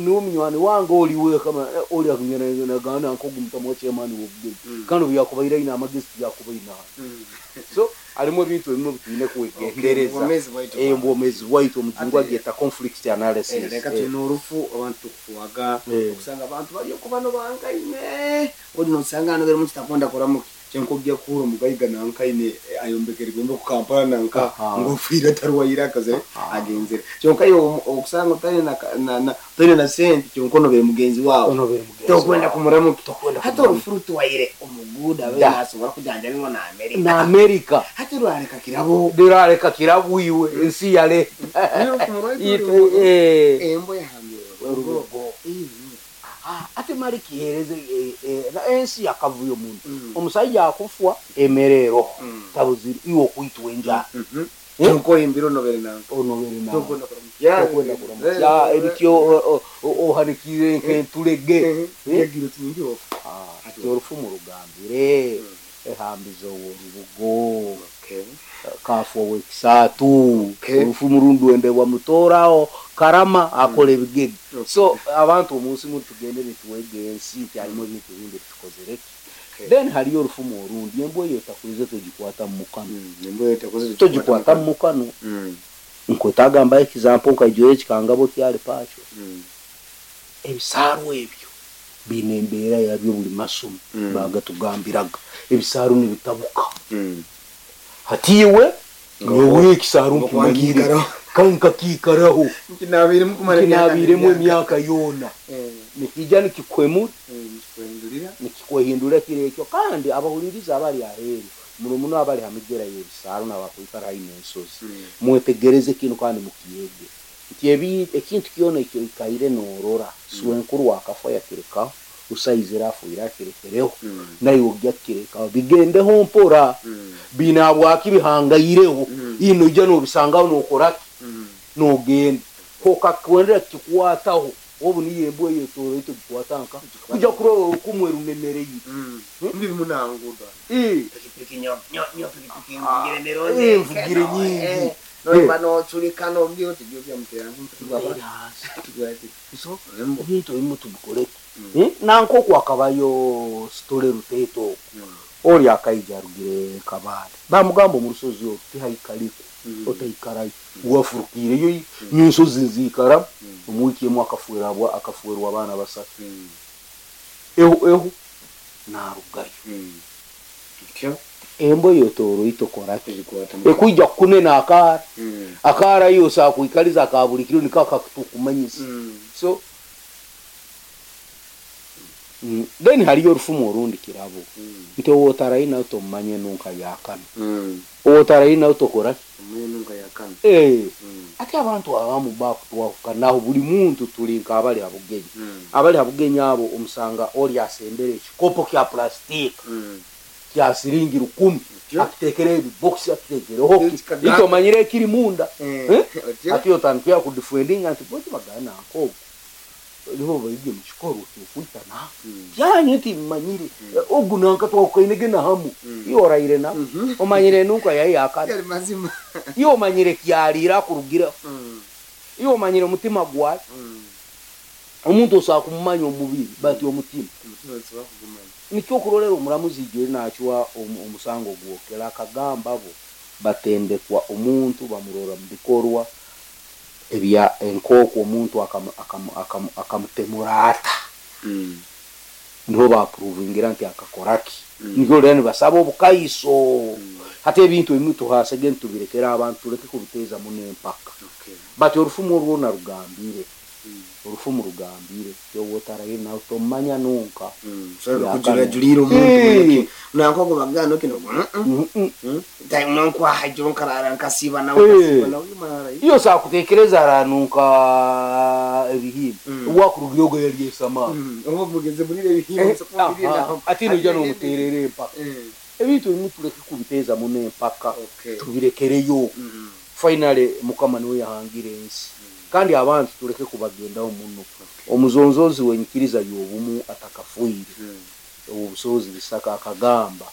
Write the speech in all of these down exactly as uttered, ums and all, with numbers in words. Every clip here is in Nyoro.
Niwe munywani wange oli wekama oli akunyanagana nkogu mutamu chairman w'obugenyi. Mm. Kandi obu yakubaire aine amagezi tiyakubaine hano. Mm. So harimu ebintu ebimwe bitwine kwegendereza. Obwomeezi bwaitu. Eh, obwomeezi bwaitu, omujungu Ate- agyeta conflict analysis. Eh, leka Eh, tulina orufu, abantu tukufuaga Eh. okusanga abantu bali okubano bankaine odi nosanga ano beri mukitakonda kuramuki kyenkojja kuhura omugaiga nankaine eh, ayombekere gwembe ku Kampala nanka Aha. ngofiire tarwaire akaze Aha. agenzere kyonka iwe omu- okusanga otali na, na, na, otali na sente kyonka onobere mugenzi wawe. Onobere mugenzi tokwenda wawe. kumuramuki. Tokwenda Hati kumuramuki. orufu rutuwaire omuguuda abe Da. nasobora kujanjabibwa na Amerika. Na Amerika. Hati rwareka kirabo. Dirareka kirabwiwe ensi yale. Ite- eh, embo yahambire Orubugo. Ah, ate mali kihereze eh, eh, na ensi yakavuyo muntu. Mm. Omusajja akufwa emerero Mm. tabuziri iwe okwitwa enjala. Mhm. Eh? Kyonka oyimbire onobere nanka Onobere nawe. tokwenda kuramuki. Tokwenda kuramukya ebityo ohanikire nk'entulege. Eh? Yagiro tingi ofu. Ah, ati orufu murugambire ehambizo orubugo kafu owekisaatu. Okay. Orufu murundi wendebwa mutoraho karama akola ebigege. Okay. So abantu omunsi muno tugende nituwega ensi nti harimu ebintu ebindi tukozereki. Then hariyo orufumu orundi, embwa eyo etakulize togikwata mu mukano. Togikwata mu mukano. Nkwetagamba example nkaijoyo ekikangabo kyali pakyo. Ebisaaru ebyo biine embeera yabyo buli masomo. Mm. Bagatugambiraga ebisaaru nibitabuka. Hati iwe nyowe ekisaaru nkimanyire Nkiikaraho. kankakiikaraho. Nkinaabiremu kumara Kinaabiremu emyaka yoona, nikijja nikikwemura, nikikwehindura kiro ekyo. Kandi abahuliriza abali aheeru muno muno abali ha migera y'ebisaaru n'abakwikara haihi n'ensozi, mwetegereze kinu kandi mukiyege nti ebi- ekintu kyona ekyoikaire noorora swenkuru wakafa yakirekaho, usaizire afuire akirekereho, naiwe ojja kukirekaho bigendeho mpora binabwaki bihangaireho. Ino ojja nobisangaho nokoraki nogenda kokakwendera kikwataho obu niyo embwa eyo etoro togikwata nka kuja kurora orukumwe runemereire. Mbimunanguda. Eh, Pikipiki nyo nyo nyo pikipiki Ah, mvugire mironde. eh, mvugire nyingi. Noiba noculika nobwira oti byo byamutera. Era hasi. So Embo. ebintu ebimu tubikoreki. Eh, nankoku akabayo sitole ruteto oku oli akaija arugire Kabale, bamugamba omu rusozi oru tihaikaliku, otaikarayo wafurukiireyo nyensozi nziikaramu. Omu wiiki emu akafuerwa abwa- akafuerwa abaana basatu. Ehu ehu narugayo. Embwa eyo toroito koraki ekwija kukunena akaara akaara yose akwikaliza akabulikiro niko akakutukumanyisa. So mm, then hariyo orufumu orundi kirabo nti owotarayi nawe tomumanye nunka yakana owotarayi nawe tokoraki. Eh, ate abantu abamu bakutwahukanaho buli muntu tuli nk'abali habugenyi abali habugenyi abo omusanga oli asembere ekikopo kya plastika kya siringi rukumi, Otyo. akitekereho ebibokisi, akitekereho Ekikaga- ito omanyire ekiri munda. Eh? Otyo. Ati otandikira kudefendinga nti boti bagana nkogo nibo baige mu kikorwa kyokwita na byanyu nti mmanyire ogu nanka twakukainege na hamu iyo oraire na omanyire nunka yayi yakana. Yali mazima. Iyo omanyire kyaliira akurugireho, iyo omanyire omutima gwawe. Omuntu osobola kumumanya omubiri bati omutima nikyo okurolera omuramuzi ijo nakyiwa omu- omusango gwokera akagamba bo batendekwa omuntu bamurora mu bikorwa ebya enkooko omuntu akamu- akamu- akamu- akamutemura ata niho bapuruvingira nti akakoraki. Nikyo rero nibasaba obukaiso. Hati ebintu ebimwe tuhasege nitubirekera abantu, tuleke kubiteeza muno empaka. Bati orufumu orwona rugambire, orufumu rugambire yowotaraye nawe tomanya nunka. Kujurajurira omuntu Eh. nankogo bagana okino. Mm-mm. Nonkwaha jo nkarara nkasiba nawe Eh. nkasiba nawe mara. Iyo sakutekereza aranuka ebihimba. Mm. Wakurugira ogo yali esamaani. Oba mugeze munire ebihimba. Ati nojja nomuterera empaka. Ebintu ebimu tuleke kubiteeza muno empaka, tubirekereyo. Finally mukama niwe yahangira ensi kandi abantu tuleke kubagendaho muno. Omuzonzozi wenyikiriza y'obumu atakafuire obusobozi bisaka akagamba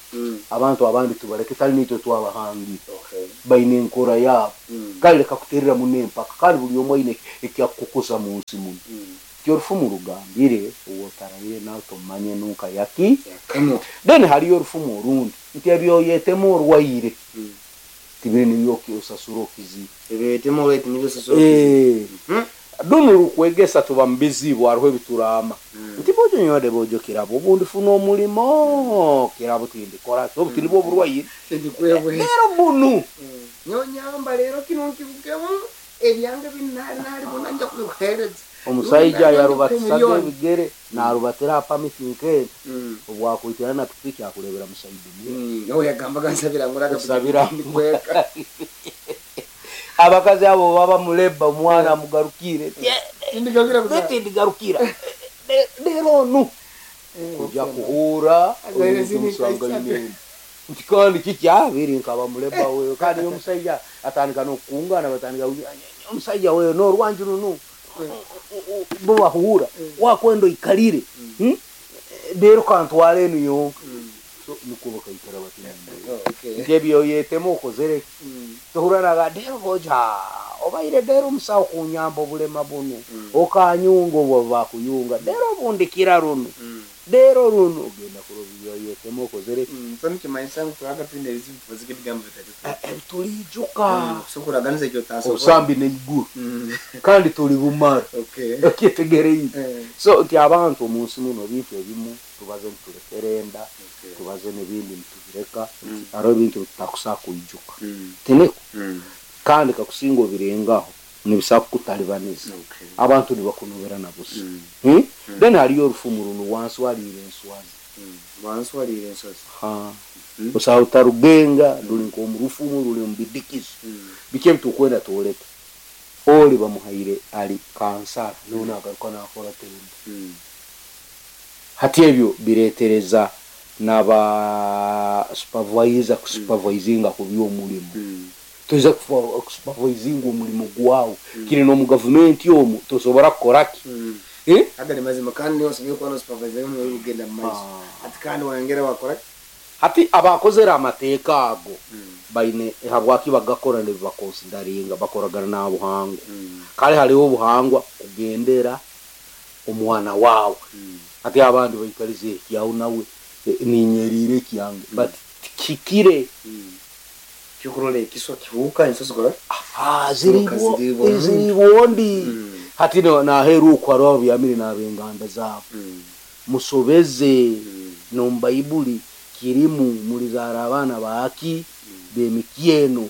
abantu abandi tubaleke, tali nitwe twabahangira, baine enkora yaabo. Kale leka kuterera muno empaka kandi buli omu aine ekyakukukosa mu nsi muno. Ti orufumu rugambire owotarayire nawe tomanye nunka yaki. Yakano. Then hariyo orufumu orundi nti ebyoyetemu orwaire tibiri nibyo osasura okizi. Ebyoyetemu orwaire nibyo osasura. Eh. Duno rukwegesa tuba mubizibu hariho ebiturama. Nti bojo nywade bojo kirabo obundi funa omulimo kirabo tindikora obu tinibwo oburwaire. Tindikwebwe. Rero bunu. Nyonyamba rero kino nkivugemu ebyange binari nari bona nja kubikuhereza. Omusaija yarubatisaga ebigere narubatira pamiti nke obwakuitira na pikipiki akurebera musaidi. Nawe yagambaga nsabira nguraga nsabira ndikweka. Abakazi abo baba muleba omwana amugarukire. Tindigarukira kuza. Tindigarukira. Rero nu kujya kuhura omusangaine. Nti kandi kikyabiri nkaba muleba wewe kandi omusaija atandika nokungana batandika omusaija wewe no rwanju runu bo bahura wakwendo ikalire rero kantwale enu yonka. So niko bakaikara bati Okay. Ngebyo yetemo okozere tohuranaga dero boja obaire dero musawo kunyamba obulema bunu okanyunga obwo bakuyunga dero bundikira runo dero runo ogenda kurobyo yetemo okozere. So nikimanyisa ngu turaga twine ebizibu tubazike ebigambo bitatu tulijuka so kuraganiza ekyo tasobola obusambi n'eiguru kandi tuli bumara. Okay. Okyetegereize. So nti abantu omunsi muno bintu ebimu tubaze niturekerenda tubaze n'ebindi nitubireka hariho ebintu tutakusa kwijuka tiniko kandi kakusinga obirengaho nibisa kukutalibaniza abantu nibakunobera na busa. Then hariyo orufumu runo wansi waliire enswazi. Wansi waliire enswazi. Ha. Osaho utarugenga ruli nk'omurufumu ruli omu bidikizo biki ebitukwenda twoleka oli bamuhaire ali kansara niwe nagaruka nakora tenda. Hati ebyo biretereza naba supervisor kusupervisinga ku by'omulimu. Tuza kusupervisinga omulimu gwawe kiri n'omu gavumenti omu tosobora kukoraki. Eh? Aga ni mazima kandi niyo osobora kuba n'osupervisor niwe ugenda mu maiso. Ati kandi wayongera wakora hati abakozera amateeka ago baine habwaki bagakora nibakonsidaringa bakoragana n'abuhangwa. Kale hariho obuhangwa kugendera omwana wawe. Ati abandi baikarize ekyawu nawe ninyerire ekyange but kikire kyokurora ekiswa kihuka ensozi kora ah ziribo ziribondi hati naheru okwarwa byamire n'abenganda zabo musobeze no Baibuli kirimu mulizara abana baaki bemikyeno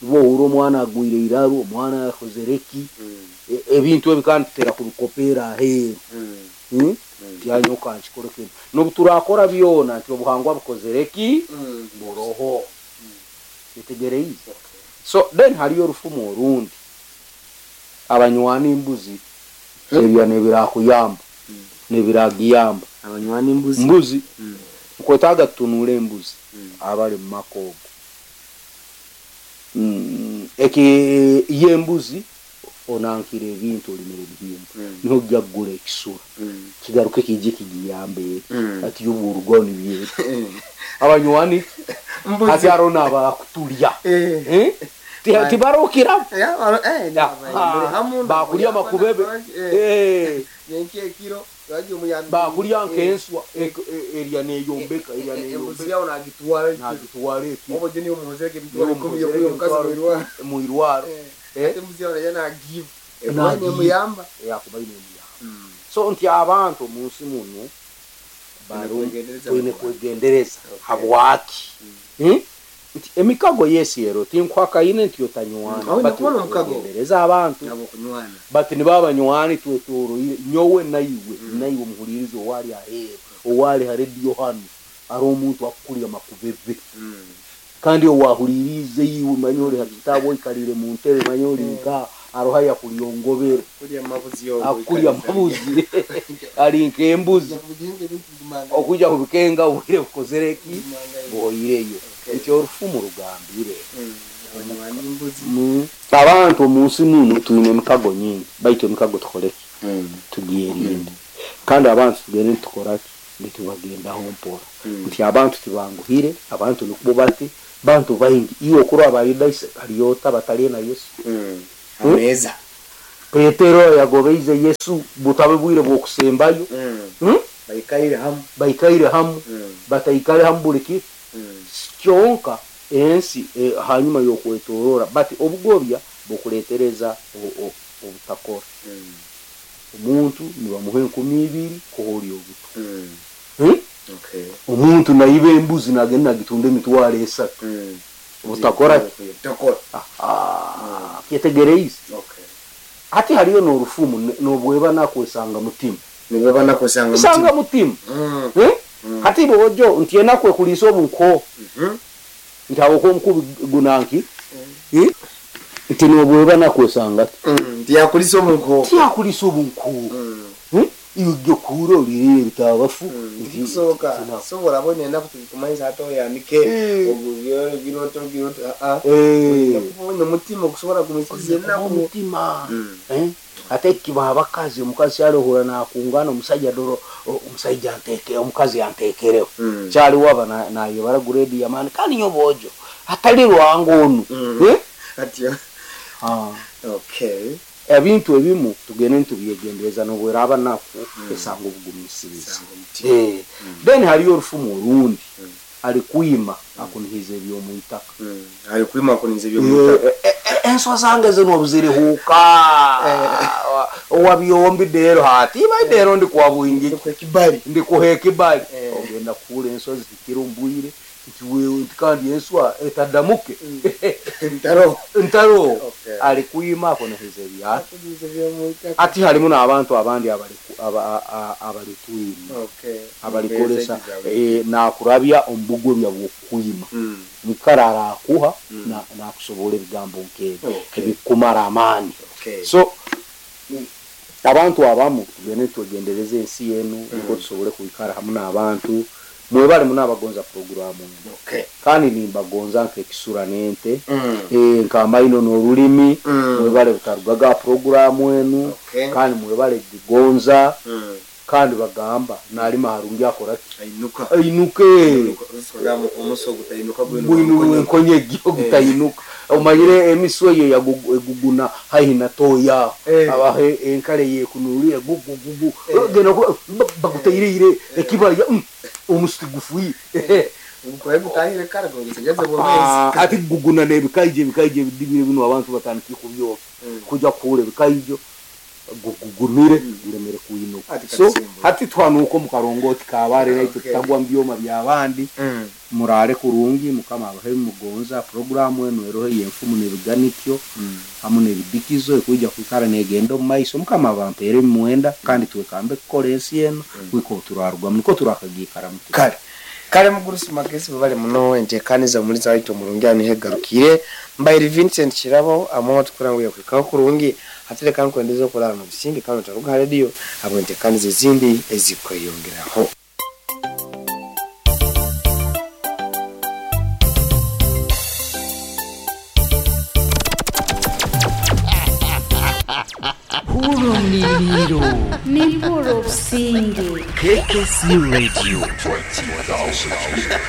bo uro omwana agwire iraro omwana yakozereki ebintu ebikandi tutera kubikopera aheru. Tyanyoka nkikora kintu nobuturakora byona nti obuhangwa bukozereki buroho itegereize. So then hariyo orufumu orundi abanywani imbuzi ebya nebirakuyamba nebiragiyamba abanywani imbuzi mbuzi nkwetaga tutunule embuzi abali mu makogo eki yembuzi onankire ebintu olimire ebihimba niho ojja kugula ekisura kigaruke kije kigiyambe ati y'oburugo nibye abanywani hati arona abakutulya eh tibarokira bakulya makubebe eh ekiro bakulya nkenswa erya neyombeka erya neyombeka yawo nagitwara nagitwara eki obo je niyo muhozereke bitwara ikumi yo mukazi mwirwaro mwirwaro eh embuzi yawo yana give ebanye muyamba yakuba ine muyamba. So nti abantu munsi muno bari kwegendereza habwaki nti emikago yesi ero tinkwakaine nti otanywana bati kwegendereza abantu bati nibabanywani twetoroire nyowe naiwe naiwe omuhulirizi owali aheeru owali ha rediyo hanu ari omuntu akukulya makubebe kandi owahulirize iwe manya ori ha kitabo oikalire mu ntebe manya ori nka aroha yakulyongobere akulya mabuzi ali nk'embuzi okuja kubikenga obwire bukozereki buhoireyo. Nti orufumu rugambire abantu omunsi muno twine emikago nyingi baitu emikago tukoreki tugierinde kandi abantu tugende nitukoraki nitubagendaho mpora nti abantu tibanguhire abantu nikubo bati bantu baingi iwe okurwa abayuda hariyo bataliye na Yesu ameza Petero yagobeize Yesu butabe bwire bw'okusembayo. Mm. Hmm? Baikaire hamu. Baikaire hamu. Mm. Bataikare hamu buli ki Mm. kyonka ensi eh, hanyuma y'okwetorora bati obugobya bukuletereza o- o- obutakora. Mm. Omuntu nibamuha enkumi ibiri kuholi obuto. Mm. Hmm? Okay. Omuntu naiba embuzi nagenda nagitunda emitwaro esatu. Mm. Obutakora ki? Butakora. Ah, kyetegereize. Okay. Hati hariyo n'orufumu ne- n'obweba nakwesanga mutima. Nibaba nakwesanga Isanga mutima. Mm. Hmm? Mm. Hati bojo nti enakwe kulisa obunko Mhm. nti awo omukubi gunanki. Eh? Nti n'obweba nakwesanga ki? Mm. Tiyakulisa obunko. Tiyakulisa obunko. Mm. Hmm? Ibyo kuro lirire bitabafu. Mm. Kusoboka. Sobola abone enaku tukumanyisa ate oyanike Eh. ogubyo giroto giroto a a. Eh. Nakubonye omutima okusobola kumisiza enaku. Omutima. Mm. Eh? Ate kiba abakazi omukazi alohura nakungana omusajja doro o- omusajja anteke omukazi antekereho. Mm. Kyali waba na nayebara grade ya mani kandi nyobojo atali rwango onu. Mm. Eh? Atyo. Ah. Okay. Ebintu ebimu tugende ntubyegendereza nobweraba naku esanga obugumisiriza. Sanga omutima. Eh. Then hariyo orufumu orundi Mm. ali kwima akunihiza eby'omuitaka. Mm. Ali kwima kuniza eby'omuitaka. Eh, eh, eh, enswa zange zino obuzirihuuka owabyombi dero hati iba dero ndi kwa bwingi Ndikuha ekibali. ndikuha ekibali. Eh. Ogenda kuhura enswa zihikire omu bwire nti wewe nti kandi enswa etadamuke. Ntaro. Ntaro. Okay. Ali kwima akunihiza ebyaki. Akuniza eby'omuitaka. Ati harimu n'abantu abandi abali aba- a- abalitwima Okay. abalikolesa eh, nakurabya omubugobya bw'okukwima. Mm. Nikara arakuha Mm. na nakusobola ebigambo nk'ebyo Okay. ebikumara amaani. Okay. So abantu abamu tugende twegendereze ensi yenu niko tusobole kwikara hamu n'abantu mwebale munabagonza programu eno. Okay. Kandi nimbagonza nk'ekisura n'ente. Mm. Eh, nk'amaino n'orulimi. Mm. Mwebale butarugaga programu enu. Okay. Kandi mwebale gigonza. Mm. Kandi bagamba nalima harungi akora ki? Ainuka. Ainuke. Omuso omuso gutainuka gwino. Gwino enkonye gutainuka. Omanyire emiswe ye yagugu- eguguna haihi na toya. Eh. Abahe enkale yekunulire gugu gugu. Eh. Genda ku- ba- bagutairire ekibaya mm, omusiti gufuyi. Ukwaye gutahire kare gusegeze Ah, bomezi. ati guguna n'ebikaije ebikaije ebidibire bino abantu batandike kubyoka. Mm. Kujya kuhura ebikaije gugumire guremere kuinuka. Ati So katisimbo. hati twanuka mu karongoti kabare naitwe Okay. tutagwa mu byoma by'abandi. Mm. Murare kurungi mukama abahe mugonza programu eno eroho yenfumu n'ebiganikyo Mm. hamu n'ebidikizo ekwija kwikara negenda omu maiso mukama abampeere emwenda kandi twekambe kukora ensi eno wiko turarugwamu niko turakagiikaramu. Kale. Kale mugurusi magezi bale muno entekaniza muliza waitu omurungi anihegarukire mbairi Vincent Kirabo amwe tukurangu yakwikaho kurungi hatire kandi kwendeza okulala mu bisimbi kandi taruga radio abo entekaniza ezindi ezikweyongeraho. Hurumliliro. Nimpuro obusinge. K K C Radio.